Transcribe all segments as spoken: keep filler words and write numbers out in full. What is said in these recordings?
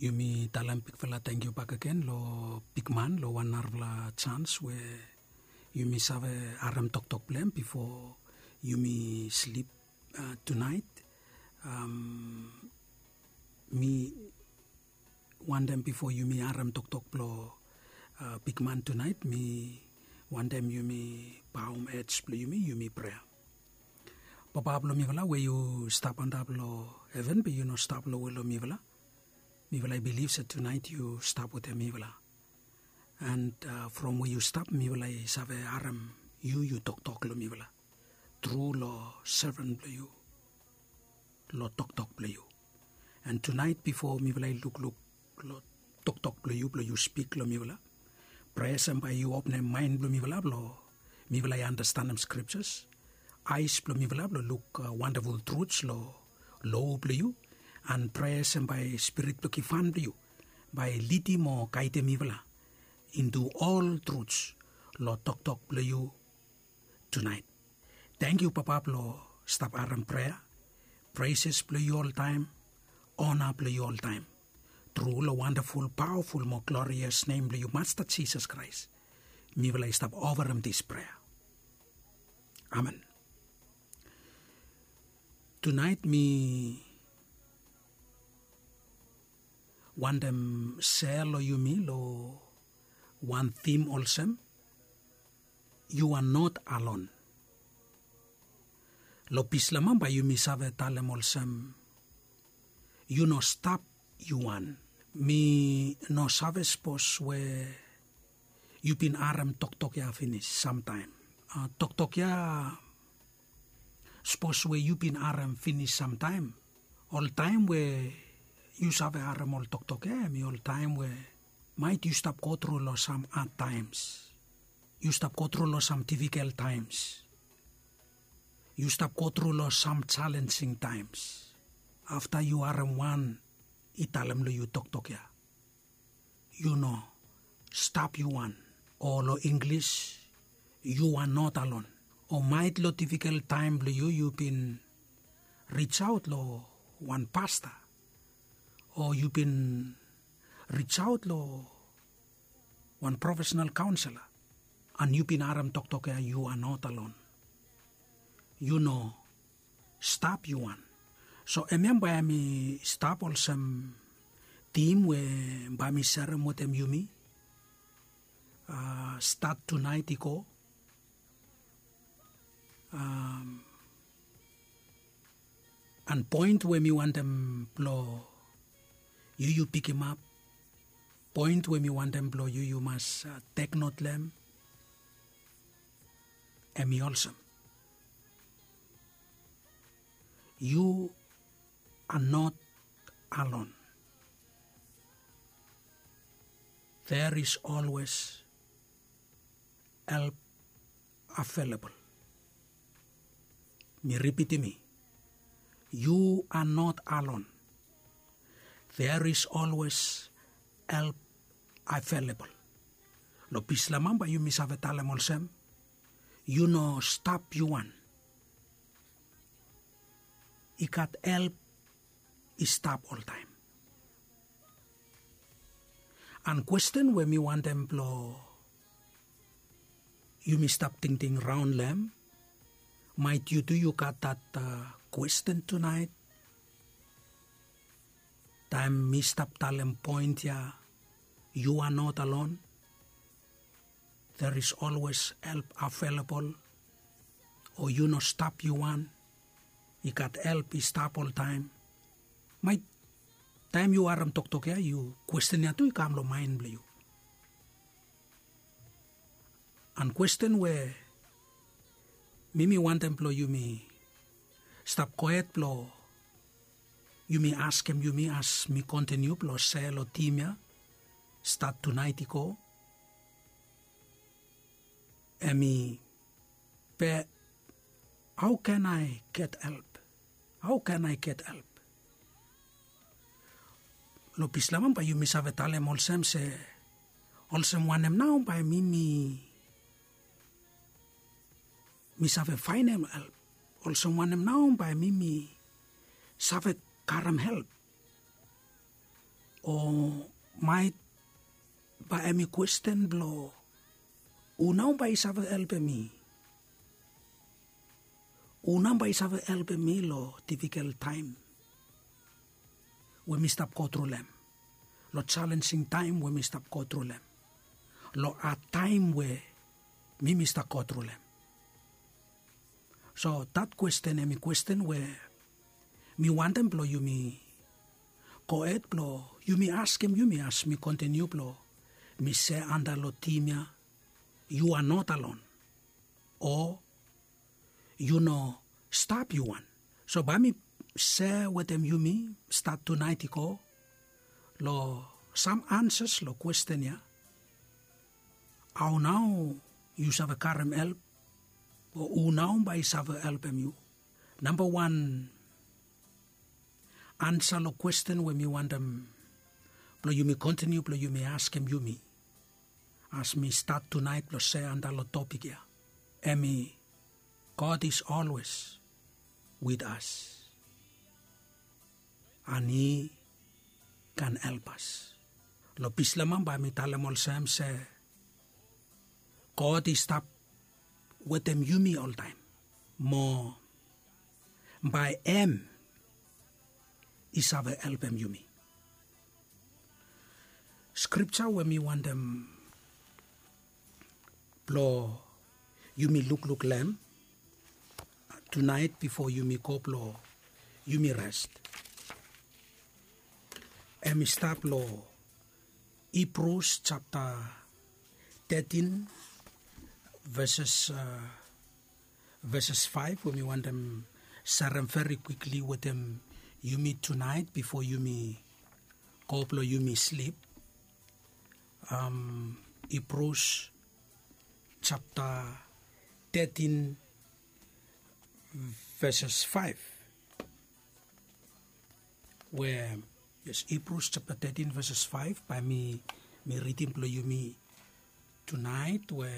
Yumi talem bigfala tangkiu bakegen long bigman long wan narafala jans we yumi save harem toktok blong hem bifo yumi slip tunaet. Mi wantem bifo yumi harem toktok blong bigman tunaet, mi wantem yumi baum ej blong yumi, yumi prea. Papa blong mifala we yu stap antap long heven be yu no stap lowe long mifala. Mifala i bilif se tunaet yu stap wetem mifala. And from we yu stap mifala i save harem yu yu toktok long mifala tru long seven blong yu, long toktok blong yu. And tunaet bifo mifala i lukluk long toktok blong yu blong yu spik long mifala, prea se bae yu openem maen blong mifala blong mifala i anastenem skriptas, aes blong mifala blong luk wandaful truts long lo blong yu. And prea se bae spirit blong givhan blong yu bae i lidim o gaedem mifala intu ol truts long toktok blong yu tunaet. Tangkiu Papa blong stap harem prea, preses blong yu oltaem, ona blong yu oltaem. Tru long wandaful pawaful mo glorias nem blong yu Masta Jisas Kraes mifala i stap ofarem dis prea. Amen. Tunaet mi wantem sea long yumi long wan tim olsem, yu a not alon. Long bislamam bae yumi save talem olsem, yu no stap yu wan. Mi no save sapos we yu bin harem toktok ya finis samtaem. Toktok ya sapos we yu bin harem finis samtaem, oltaem we yu save harem ol toktok ya em i oltaem we maet yu stap gotru long sam adtaems, yu stap gotru long sam difikel taems, yu stap gotru long sam jalensing taems. Afta yu harem wan i talem long yu toktok ya, yu no stap yu wan, o long Inglis, yu a not alon. O maet long difikel taem blong yu yu bin rijsaot long wan pasta, o yu bin rijsaot long wan profesenal kaonsela, and yu bin harem toktok ya yu a not alon. Yu no stap yu wan. So hemia bae mi stap olsem tim we bae mi serem wetem yumi stat tunaet i go. An poen we mi wantem blong yu yu pikimap, poen we mi wantem blong yu yu mas teknot long hem, hem i olsem, yu a not alon. There is always help available. Mi ripitim i, yu a not alon. There is always help available. Long bislamam bae yumi save talem olsem, yu no stap yu wan. I gat help i stap oltaem. An kwesten we mi wantem blong yumi stap tingting raon long hem, maet yu tu yu gat dat kwesten tunaet. Taem mi stap talem poen ya, yu a not alon. There is always help available. O yu no stap yu wan, i gat help i stap oltaem. Maet taem yu harem toktok ya yu kwesten ya tu i kam long maen blong yu. An kwesten we mi mi wantem blong yumi stap gohed blong yumi askem yumi as mi kontiniu blong sea long tim ya stat tunaet i go, hem i, be hao can I get help? Hao can I get help? Long bislamam bae yumi save talem olsem se, olsem wanem nao bae mi mi mi save faenem help? Olsem wanem nao bae mi mi save karem help? O maet bae hem i kwesten blong hu nao bae i save helpem mi? Hu nao bae i save helpem mi long difikel taem we mi stap go tru long hem, long jalenjing taem we mi stap go tru long hem, long had taem we mi mi stap go tru long hem? So dat kwesten hem i kwesten we mi wantem blong yumi gohed blong yumi askem yumi as mi kontiniu blong mi sea antap long tim ya. Yu a not alon, o yu no stap yu wan. So bae mi sea wetem yumi stat tunaet i go long sam ansas long kwesten ya. Hao nao yu save karem help? O hu nao bae i save helpem yu? Nambawan ansa long kwesten we mi wantem blong yumi kontiniu blong yumi askem yumi as mi stat tunaet blong sea antap long topik ya, hem i God is always with us. An hi kan help as. Long Bislama bae mi talem olsem se God i stap wetem yumi oltaem, mo bae hem i save helpem yumi. Skripja we mi wantem blong yumi lukluk long hem tunaet bifo yumi go blong yumi res, hem i stap long Hibrus japta tetin, veses veses faef we mi wantem serem veri kwikli wetem yumi tunaet bifo yumi go blong yumi slip. Hibrus japta tetin, veses faef, we yes, Hibrus japta tetin veses faef bae mi mi ridim blong yumi tunaet, we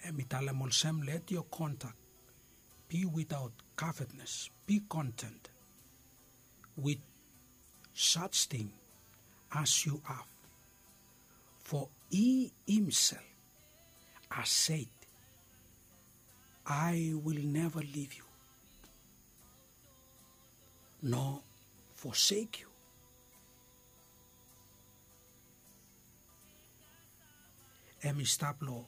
hem i talem olsem, let your conduct be without covetousness, be content with such thing as you have, for he himself has said, I will never leave you nor forsake you. Hem i stap long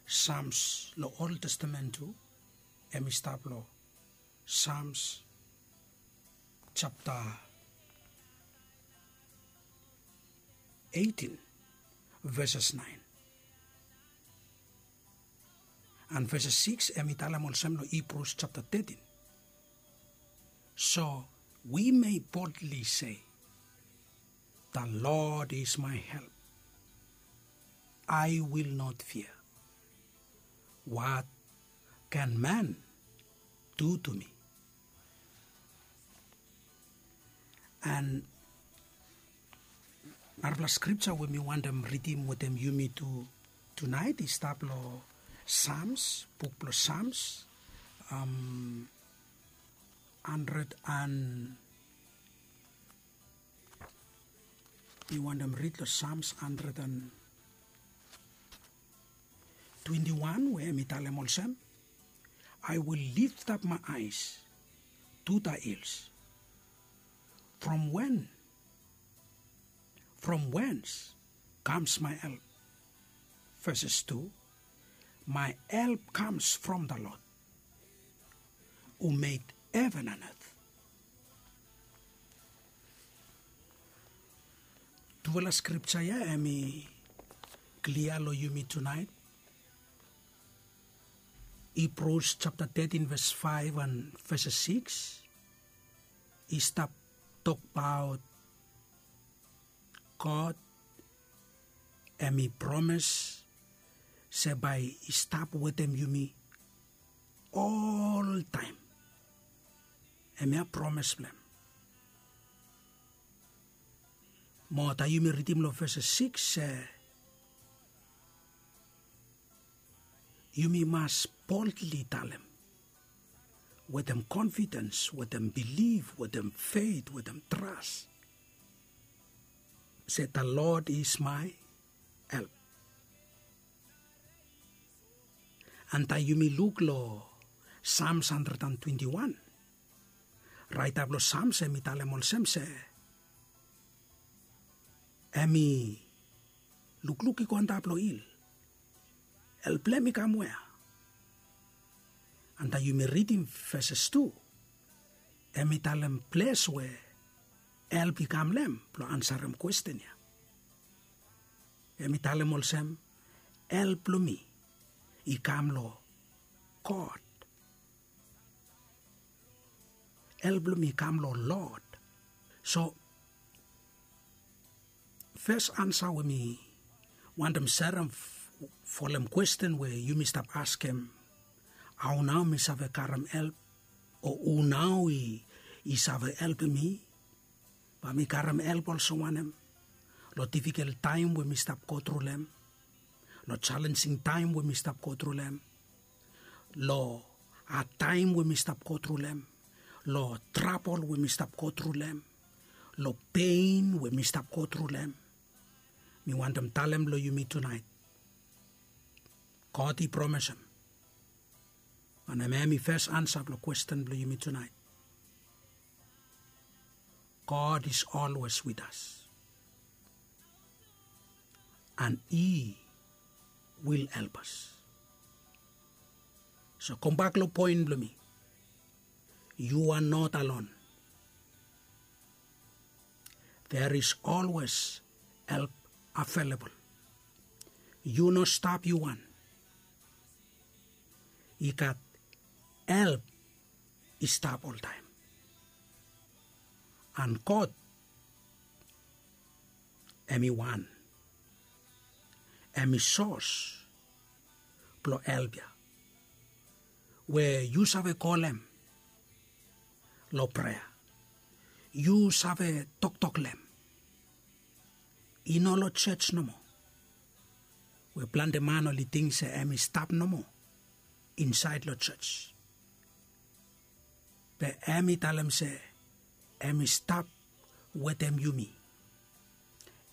Sams long Ol Testamen tu, hem i stap long Sams japta eitin, veses naen. An veses sikis hem i talem olsem long Hibrus japta tetin, so we may boldly say, the Lord is my help, I will not fear. What can man do to me? An narapela skripja we mi wantem ridim wetem yumi tu tunaet i stap long Sams, buk blong Sams, handred an mi wantem rid long Sams handred an twenti wan, we hem i talem olsem, I will lift up my eyes to the hills. From when, from whence comes my help? Verses two, my help comes from the Lord who made heaven and earth. Tufala skripja ya hem i klia long yumi tunaet. Hibrus japta tetin ves faef an ves sikis i stap tokbaot God hem i promes se bae i stap wetem yumi oltaem. Hemia promes blong hem. Mo taem yumi ridim long ves sikis se yumi mas boldly talem, wetem confidence, wetem belief, wetem faith, wetem trust, se the Lord is my help. Antaem yumi luk long Psalms hundred and twenty-one, raeta blong Psalms em i talem olsem se em i lukluk i go antap long hil. Help blong em i kam wea? Antaem yumi ridim verses tu, em i talem ples we help i kam long em blong ansarem kwesten ya. Em i talem olsem, help blong mi i kam long God. Help blong mi i kam long Lord. So fes ansa we mi wantem serem folem kwesten we yumi stap askem, hao nao mi save karem help? O hu nao i save helpem mi? Bae mi karem help olsem wanem long difikel taem we mi stap gotru long em, long jalenjing taem we mi stap gotru long em, long hadtaem we mi stap gotru long em, long trabol we mi stap gotru long em, long pein we mi stap gotru long em? Mi wantem talem long yumi tunaet, God i promesem, wanem, em i fes ansa blong kwesten blong yumi tunaet. God is always with us, and He will help us. So kambak long poen blong mi, you are not alone. There is always help available. Yu no stap yu wan. I gat help i stap oltaem. And God, em i wan, em i sos blong help ya, we yu save kolem long prea, yu save toktok long em. I no long jos nomo, we plante man oli ting se em i stap nomo insaed long jos. Be em i talem se em i stap wetem yumi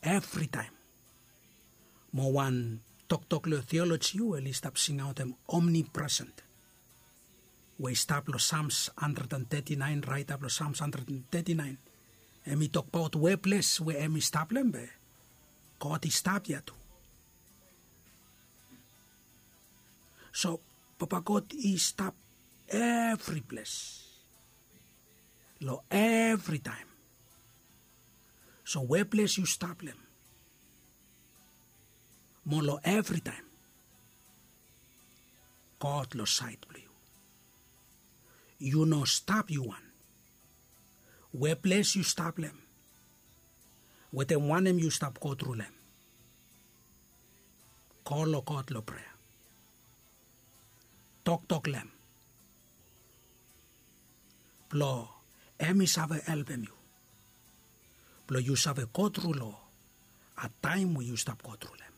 evritaem. Mo wan toktok long teoloji we oli stap singaotem omnipresent, we i stap long Psalms hundred and thirty-nine, raeta blong Psalms hundred and thirty-nine, em i tokbaot we ples we em i stap long em, be God i stap ya tu. So Papa God i stap evri ples, long evritaem. So we ples yu stap long em, mo long evritaem, God long saed blong yu. Yu no stap yu wan. We ples yu stap long em, wetem wanem yu stap gotru long em, go long God long prea. Toktok long em blong em i save helpem yu blong yu save gotru long hadtaem we yu stap gotru long em.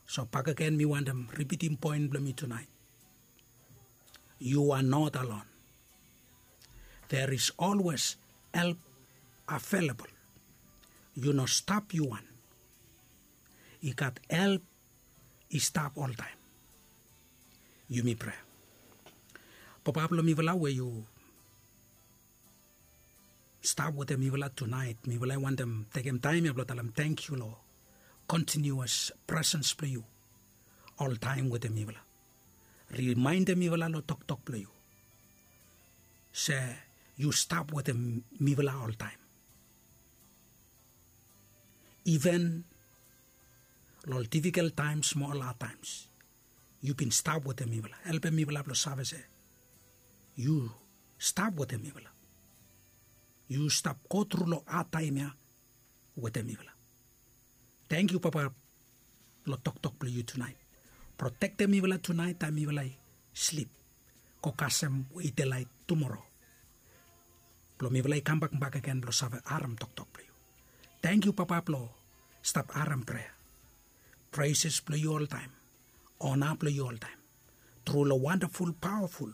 So bakegen mi wantem ripitim poen blong mi tunaet. You are not alone. There is always help available. Yu no stap yu wan. I gat help i stap oltaem. Yumi prea. Papa blong mifala we yu stap wetem mifala tunaet, mifala i wantem tekem taem ya blong talem tangkiu long kontiniuas presens blong yu oltaem wetem mifala. Rimaendem mifala long toktok blong yu se yu stap wetem mifala oltaem. Iven long ol difikel taems mo ol hadtaems, yu bin stap wetem mifala. Helpem mifala blong save se yu stap wetem mifala. Yu stap gotru long hadtaem ya wetem mifala. Tangkiu Papa long toktok blong yu tunaet. Protektem mifala tunaet taem mifala i slip, go kasem we i delaet tumora, blong mifala i kambak bakegen blong save harem toktok blong yu. Tangkiu Papa blong stap harem prea. Preses blong yu oltaem, ona blong yu oltaem, tru long wandaful, paoaful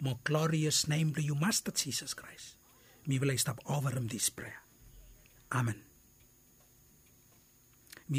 mo glorias nem blong yu masta jisas kraes. Mifala i stap ovarim dis prea. Amen.